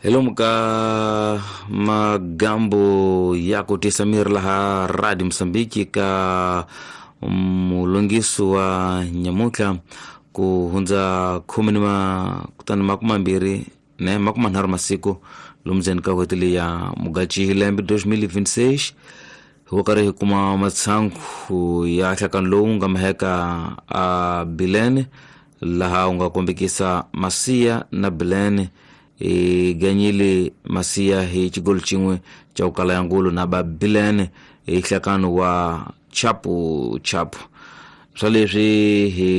Hi lomu ka magambo ya ku tisa miri laha Radio Mosambiki ka mulungiso wa nyamutlha ku hundza khume ni ma kutani makume mambirhi ne makume manharhu masiku lomu ndzeni ka n'hweti leyi ya Mugachi lembe 2026, hi ku karhi hi kuma matshangu ya nhlakano lowu nga maheka a Bilene, laha u nga kombekisa Masiya na Bilene hi ganyile Masiya hi xigolo xin'we xa ku kala ya ngulu na ba Bilene hi nhlakano wa chapu chapu. Swa leswi hi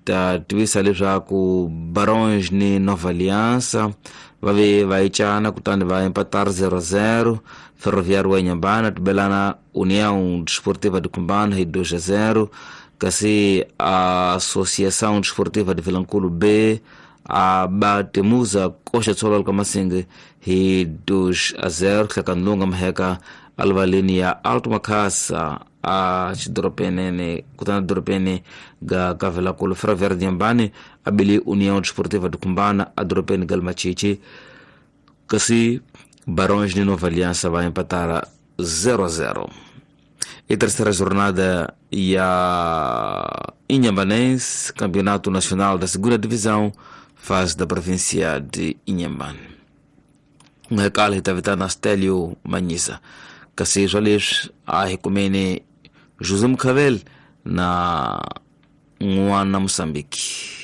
ta tivisa leswaku Baronge ni Nova Aliança va ve va yicana kutani va empatar 0-0. Ferroviário wa Inhambane tibelana União Desportiva de Cumbana hi 2-0, kasi Associação Desportiva de Vilankulo B a batemuza koxa tshololo ka Masinge hi 2-0. Nhlakano lowu nga maheka alivaleni ya Alto Makhasa a xidoropenene kutani doropeni ga Kavelakulu. Ferroviário de Inhambane a bile União Desportiva de Cumbana a doropeni ga Machichi, kasi Barões de Nova Aliança vai empatar a 0-0. E terceira jornada ya Inhambanense, Campeonato Nacional da Segunda Divisão, fase da província de Inhambane. N'hekala hi ta vitana Stelio Manyisa, kasi swa leswi a hi kumeni José Mukhavel na n'wana Mosambiki.